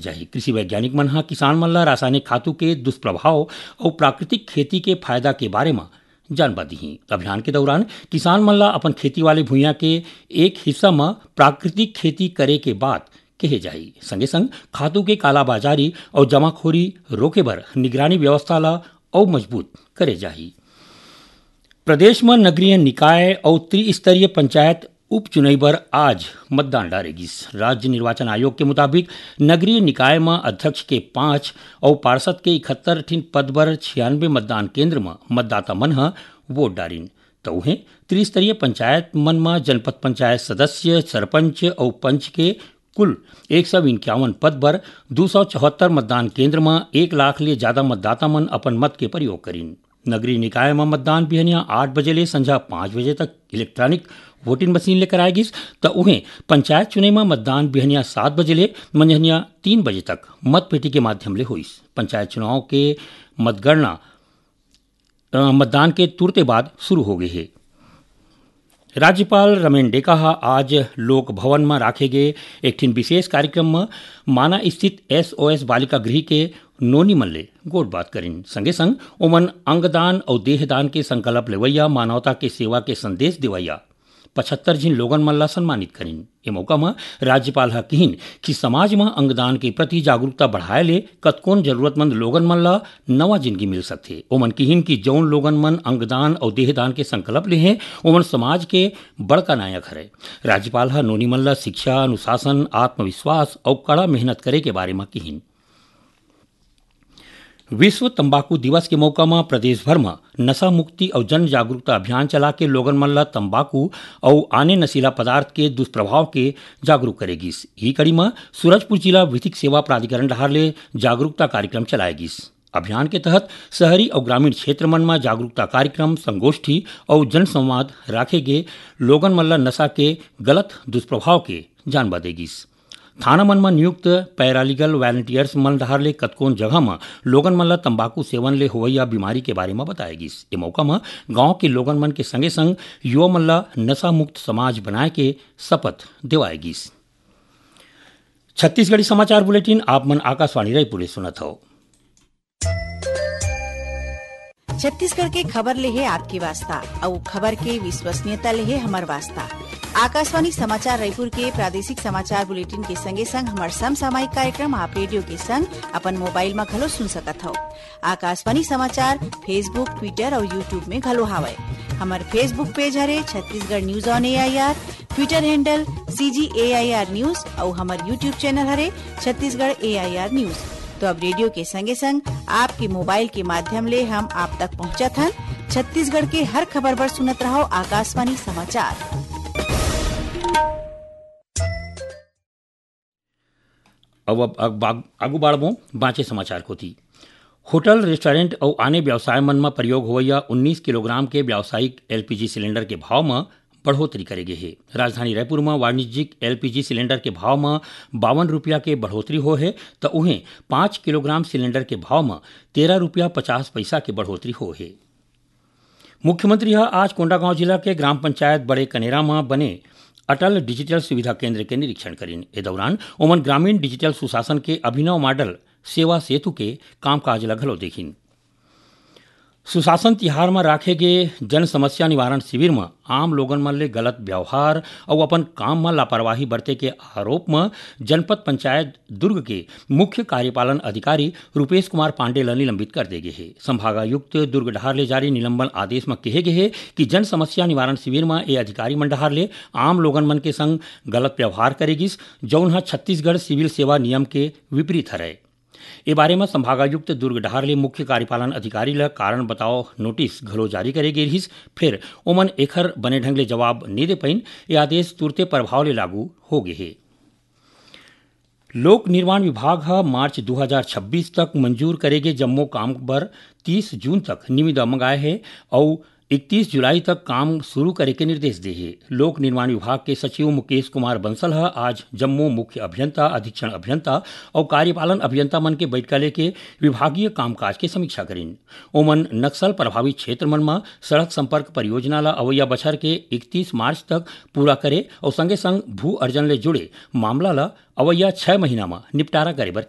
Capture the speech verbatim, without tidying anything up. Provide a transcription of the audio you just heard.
जाही। कृषि वैज्ञानिक मन ह किसान मन ल रासायनिक खातू के दुष्प्रभाव अउ प्राकृतिक खेती के फायदा के बारे म जानबा दिही। अभियान के दौरान किसान मन ल अपन खेती वाले भुइयां के एक हिस्सा म प्राकृतिक खेती करे के बात कहे जाही। संगे संग खातू के कालाबाजारी अउ जमाखोरी रोके बर निगरानी व्यवस्था ल अउ मजबूत करे जाही। प्रदेश म नगरीय निकाय अउ त्रिस्तरीय पंचायत उपचुनई बर आज मतदान डारे गिस। राज्य निर्वाचन आयोग के मुताबिक नगरीय निकाय म अध्यक्ष के पाँच अउ पार्षद के इकहत्तर ठिन पद बर छियानवे मतदान केंद्र म मतदाता मन ह वोट डारिन। त उहें त्रिस्तरीय पंचायत मन म जनपद पंचायत सदस्य, सरपंच अउ पंच के कुल एक सौ इक्यावन पद बर दू सौ चौहत्तर मतदान केंद्र म एक लाख ले जादा मतदाता मन अपन मत के प्रयोग करिन। नगरीय निकाय म मतदान बिहनिया आठ बजे ले संझा पाँच बजे तक इलेक्ट्रॉनिक वोटिंग मशीन ले कराए गिस, त उहें पंचायत चुनई म मतदान बिहनिया सात बजे ले मंझनिया तीन बजे तक मतपेटी के माध्यम ले होइस। पंचायत चुनाव के मतगणना, अ, मतदान के तुरते बाद शुरू हो गे हे। राज्यपाल रमेन डेका ह आज लोक भवन म राखे गे एक ठिन विशेष कार्यक्रम म माना स्थित एसओएस बालिका गृह के नोनी मन ले गोठबात करिन। संगे संग ओमन अंगदान अउ देहदान के संकल्प लेवइया मानवता के सेवा के संदेश देवइया पचहत्तर झिन लोगन मन ला सम्मानित करिन। ए मौका म राज्यपाल ह किहिन कि समाज म अंगदान के प्रति जागरूकता बढ़ाए ले कतकोन जरूरतमंद लोगन मन ला नवा जिंदगी मिल सकथे। ओमन किहिन कि जउन लोगन मन अंगदान अउ देहदान के संकल्प ले हें, ओमन समाज के बड़का नायक हरय। राज्यपाल ह नोनी मन ला शिक्षा, अनुशासन, आत्मविश्वास अउ कड़ा मेहनत करे के बारे म किहिन। विश्व तंबाकू दिवस के मौका म प्रदेश भर म नशा मुक्ति अउ जन जागरूकता अभियान चला के लोगन मन ल तंबाकू अउ आने नशीला पदार्थ के दुष्प्रभाव के जागरूक करे गिस। इही कड़ी म सूरजपुर जिला विधिक सेवा प्राधिकरण डहार ले जागरूकता कार्यक्रम चलाए गिस। अभियान के तहत शहरी अउ ग्रामीण क्षेत्र मन म जागरूकता कार्यक्रम, संगोष्ठी अउ जनसंवाद राखे गे लोगन मन ल नशा के गलत दुष्प्रभाव के जानबा दे गिस। थाना मन म नियुक्त पैरालीगल वॉलंटियर्स मन डहार ले कतकोन जगह म लोगन मन ल तंबाकू सेवन ले होवइया बीमारी के बारे म बताए गिस। ए मौका म गांव के लोगन मन के संगे संग युवा मन ल नशा मुक्त समाज बनाए के शपथ देवाए गिस। छत्तीसगढ़ी समाचार बुलेटिन आप मन आकाशवाणी रायपुर ले सुनत हव। छत्तीसगढ़ के खबर ले हे आपके वास्ता, अउ खबर के विश्वसनीयता ले हे हमर वास्ता। आकाशवाणी समाचार रायपुर के प्रादेशिक समाचार बुलेटिन के संगे संग हमर समसामयिक कार्यक्रम आप रेडियो के संग अपन मोबाइल म घलो सुन सकत हव। आकाशवाणी समाचार Facebook, Twitter अउ YouTube में घलो हावय। हमर Facebook पेज हरे Chhattisgarh news on AIR, Twitter handle CG AIR news अउ हमर YouTube चैनल हरे छत्तीसगढ़ एआईआर न्यूज। तो अब रेडियो के संगे संग आपके मोबाइल के माध्यम ले हम आप तक पहुंचत हन। छत्तीसगढ़ के हर खबर बर सुनत रहव आकाशवाणी समाचार। अब, अब, अब बाग-, आगू बाढ़बो बांचे समाचार कोती। होटल, रेस्टोरेंट अउ आने व्यवसाय मन म प्रयोग होवइया उन्नीस किलोग्राम के व्यावसायिक एलपीजी सिलेंडर के भाव म बढ़ोतरी करे गे हे। राजधानी रायपुर म वाणिज्यिक एलपीजी सिलेंडर के भाव म बावन रुपया के बढ़ोतरी हो हे, त उहें पाँच किलोग्राम सिलेंडर के भाव म तेरह रुपया पचास पइसा के बढ़ोतरी हो हे। मुख्यमंत्री ह आज कोंडागांव जिला के ग्राम पंचायत बड़े कनेरा म बने अटल डिजिटल सुविधा केंद्र के निरीक्षण करिन। ए दौरान ओमन ग्रामीण डिजिटल सुशासन के अभिनव मॉडल सेवा सेतु के कामकाज ल घलो देखिन। सुशासन तिहार म राखे गे जन समस्या निवारण शिविर म आम लोगन मन ले गलत व्यवहार अउ अपन काम म लापरवाही बरते के आरोप म जनपद पंचायत दुर्ग के मुख्य कार्यपालन अधिकारी रूपेश कुमार पांडे ल निलंबित कर दे गे हे। संभागायुक्त दुर्ग डहार ले जारी निलंबन आदेश म केहे गे हे कि जन समस्या निवारण शिविर म ए अधिकारी मन डहार ले आम लोगन मन के संग गलत व्यवहार करे गिस, जउन ह छत्तीसगढ़ सिविल सेवा नियम के विपरीत हरय। ए बारे म संभागायुक्त दुर्ग डहार ले मुख्य कार्यपालन अधिकारी ल कारण बताओ नोटिस घलो जारी करे गे रिहिस, फेर ओमन एखर बने ढंग ले जवाब नइ दे पाइन। ए आदेश तुरते प्रभाव ले लागू हो गे हे। लोक निर्माण विभाग ह मार्च दू हजार छब्बीस तक मंजूर करे गे जम्मो काम बर तीस जून तक निविदा मंगाए हे अउ इकतीस जुलाई तक काम शुरू करे के निर्देश दे हे। लोक निर्माण विभाग के सचिव मुकेश कुमार बंसल ह आज जम्मो मुख्य अभियंता, अधीक्षण अभियंता अउ कार्यपालन अभियंता मन के बैठका लेके विभागीय कामकाज के समीक्षा करिन। ओमन नक्सल प्रभावित क्षेत्र मन म सड़क संपर्क परियोजना ल अवइया बछर के इकतीस मार्च तक पूरा करे अउ संगे संग भू अर्जन ले जुड़े मामला ल अवइया छह महीना म निपटारा करे बर